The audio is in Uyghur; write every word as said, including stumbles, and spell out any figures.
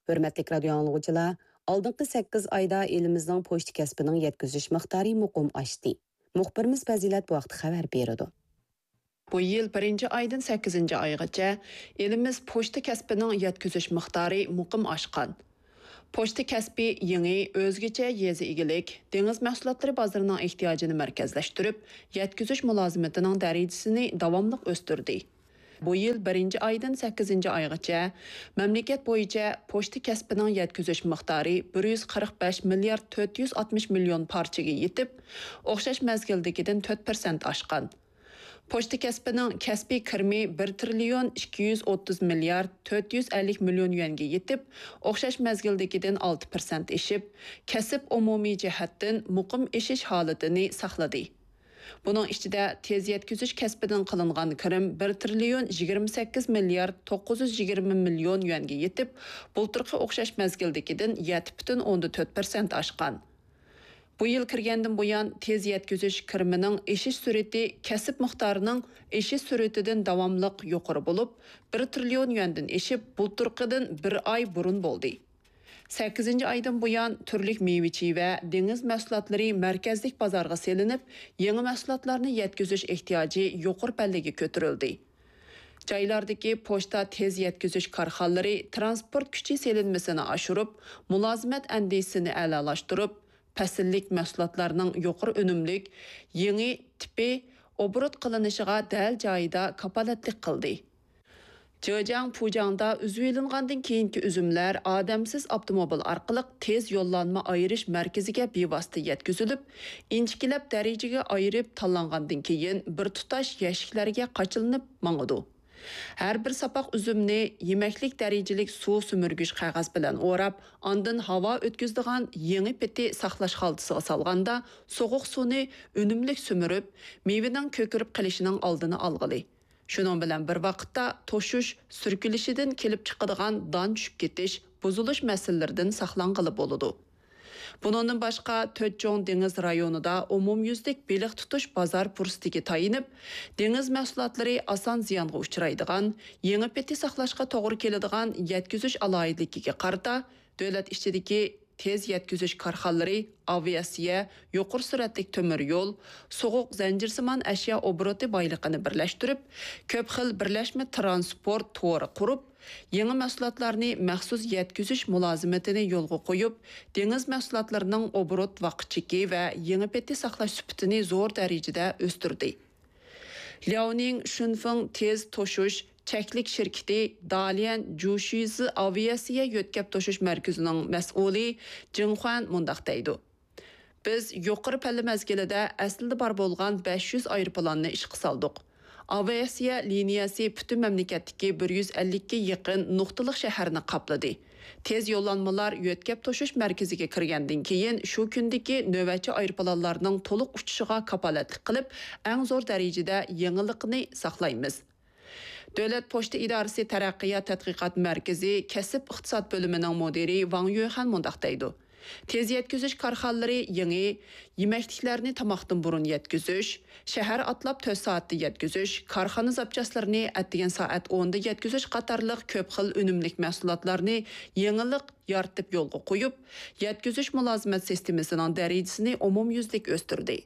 ھۆرمەتلىك رادىيو ئاڭلىغۇچىلار، ئالدىنقى سەككىز ئايدا ئېلىمىزنىڭ پوچتا كەسپىنىڭ يەتكۈزۈش مىقدارى مۇقىم ئاشتى. مۇخبىرىمىز پەزىلەت بۇ ھەقتە خەۋەر بېرىدۇ. بۇ يىل بىرىنچى ئايدىن سەككىزىنچى ئايغىچە ئېلىمىز پوچتا كەسپىنىڭ يەتكۈزۈش مىقدارى مۇقىم ئاشقان. پوچتا كەسپى يېڭى، ئۆزگىچە يېزا ئىگىلىك، دېڭىز مەھسۇلاتلىرى بازىرىنىڭ ئېھتىياجىنى مەركەزلەشتۈرۈپ، يەتكۈزۈش مۇلازىمىتىنىڭ دەرىجىسىنى داۋاملىق ئۆستۈردى. بۇ يىل بىرىنچى ئايدىن سەككىزىنچى ئايغىچە مەملىكەت بويىچە پوچتا كەسپىنىڭ يەتكۈزۈش مىقدارى بىر يۈز قىرىق بەش مىليارد تۆت يۈز ئاتمىش مىليون پارچىگە يېتىپ، ئوخشاش مەزگىلدىكىدىن تۆت پىرسەنت ئاشقان. پوچتا كەسپىنىڭ كەسپىي كىرىمى بىر تىرىليون ئىككى يۈز ئوتتۇز مىليارد تۆت يۈز ئەللىك مىليون يۈەنگە يېتىپ، ئوخشاش مەزگىلدىكىدىن ئالتە پىرسەنت ئېشىپ، كەسىپ ئومۇمىي جەھەتتىن مۇقىم ئېشىش ھالىتىنى ساقلىدى. بۇنىڭ ئىچىدە تېز يەتكۈزۈش كەسپىدىن قىلىنغان كىرىم بىر تىرىليون يىگىرمە سەككىز مىليارد توققۇز يۈز يىگىرمە مىليون يۈەنگە يېتىپ، بۇلتۇرقى ئوخشاش مەزگىلدىكىدىن يەتتە پۈتۈن ئوندىن تۆت پىرسەنت ئاشقان. بۇ يىل كىرگەندىن بۇيان، تېز يەتكۈزۈش كىرىمىنىڭ ئېشىش سۈرئىتى كەسىپ مىقدارىنىڭ ئېشىش سۈرئىتىدىن داۋاملىق يۇقىرى بولۇپ، بىر تىرىليون يۈەندىن ئېشىپ، بۇلتۇرقىدىن بىر ئاي بۇرۇن بولدى. سەككىزىنچى ئايدىن بۇيان، تۈرلۈك مېۋىچى ۋە دېڭىز مەھسۇلاتلىرى مەركەزلىك بازارغا سېلىنىپ، يېڭى مەھسۇلاتلارنى يەتكۈزۈش ئېھتىياجى يۇقىرى پەللىگە كۆتۈرۈلدى. جايلاردىكى پوچتا تېز يەتكۈزۈش كارخانىلىرى تىرانسپورت كۈچى سېلىنمىسىنى ئاشۇرۇپ، مۇلازىمەت ئەندىزىسىنى ئەلالاشتۇرۇپ، پەسىللىك مەھسۇلاتلارنىڭ يۇقىرى ئۈنۈملۈك، يېڭى تىپى ئوبوروت قىلىنىشىغا دەل جايىدا كاپالەتلىك قىلدى. جېجياڭ پۇجياڭدا ئۈزۈۋېلىنغاندىن كېيىنكى ئۈزۈملەر ئادەمسىز ئاپتوموبىل ئارقىلىق تېز يوللانما ئايرىش مەركىزىگە بىۋاسىتە يەتكۈزۈلۈپ، ئىنچىكىلەپ دەرىجىگە ئايرىپ تاللانغاندىن كېيىن، بىر تۇتاش يەشىكلەرگە قاچىلىنىپ ماڭىدۇ. ھەر بىر ساپاق ئۈزۈمنى يېمەكلىك دەرىجىلىك سۇ سۈمۈرگۈچ قەغەز بىلەن ئوراپ، ئاندىن ھاۋا ئۆتكۈزىدىغان يېڭى پېتى ساقلاش خالتىسىغا سالغاندا، سوغۇق سۇنى ئۈنۈملۈك سۈمۈرۈپ، مېۋىنىڭ كۆكىرىپ قېلىشىنىڭ ئالدىنى ئالغىلى. شۇنىڭ بىلەن بىر ۋاقىتتا، توشۇش، سۈركىلىشىدىن كېلىپ چىقىدىغان دان چۈشۈپ كېتىش، بۇزۇلۇش مەسىلىلىرىدىن ساقلانغىلى بولىدۇ. بۇنىڭدىن باشقا، تۆت چوڭ دېڭىز رايونىدا ئومۇميۈزلۈك بېلىق تۇتۇش بازار پۇرسىتىگە تايىنىپ، دېڭىز مەھسۇلاتلىرى ئاسان زىيانغا ئۇچرايدىغان، يېڭى پېتى ساقلاشقا توغرا كېلىدىغان يەتكۈزۈش ئالاھىدىلىكىگە قارىتا، دۆلەت ئىچىدىكى تېز يەتكۈزۈش كارخانىلىرى، ئاۋىئاتسىيە، يۇقىرى سۈرئەتلىك تۆمۈر يول، سوغۇق زەنجىرسىمان ئەشيا ئوبوروتى بايلىقىنى بىرلەشتۈرۈپ، كۆپ خىل بىرلەشمە تىرانسپورت تورى قۇرۇپ، يېڭى مەھسۇلاتلارنى مەخسۇس يەتكۈزۈش مۇلازىمىتىنى يولغا قويۇپ، دېڭىز مەھسۇلاتلىرىنىڭ ئوبوروت ۋاقىت چېكى ۋە يېڭى پېتى ساقلاش سۈپىتىنى زور دەرىجىدە ئۆستۈردى. لياۋنىڭ شۈنفېڭ تېز توشۇش چەكلىك شىركىتى داليەن جۇشىزى ئاۋىئاتسىيە يۆتكەپ توشۇش مەركىزىنىڭ مەسئۇلى جېڭ خۇەن مۇنداق دەيدۇ: بىز يۇقىرى پەللە مەزگىلىدە ئەسلىدە بار بولغان بەش يۈز ئايروپىلاننى ئىشقا سالدۇق. ئاۋىئاتسىيە لىنىيەسى پۈتۈن مەملىكەتتىكى بىر يۈز ئەللىككە يېقىن نۇقتىلىق شەھەرنى قاپلىدى. تېز يوللانمىلار يۆتكەپ توشۇش مەركىزىگە كىرگەندىن كېيىن، شۇ كۈندىكى نۆۋەتچى ئايروپىلانلارنىڭ تولۇق ئۇچۇشىغا كاپالەتلىك قىلىپ، ئەڭ زور دەرىجىدە يېڭىلىقنى ساقلايمىز. دۆلەت پوچتا ئىدارىسى تەرەققىيات تەتقىقات مەركىزى كەسىپ ئىقتىساد بۆلۈمىنىڭ مۇدىرى ۋاڭ يۈخەن مۇنداق دەيدۇ: تېز يەتكۈزۈش كارخانىلىرى يېڭى يېمەكلىكلەرنى تاماقتىن بۇرۇن يەتكۈزۈش، شەھەر ئاتلاپ تۆت سائەتتە يەتكۈزۈش، كارخانا زاپچاسلىرىنى ئەتىگەن سائەت ئوندا يەتكۈزۈش قاتارلىق كۆپ خىل ئۈنۈملۈك مەھسۇلاتلارنى يېڭىلىق يارىتىپ يولغا قويۇپ، يەتكۈزۈش مۇلازىمەت سىستېمىسىنىڭ دەرىجىسىنى ئومۇميۈزلۈك ئۆستۈردى.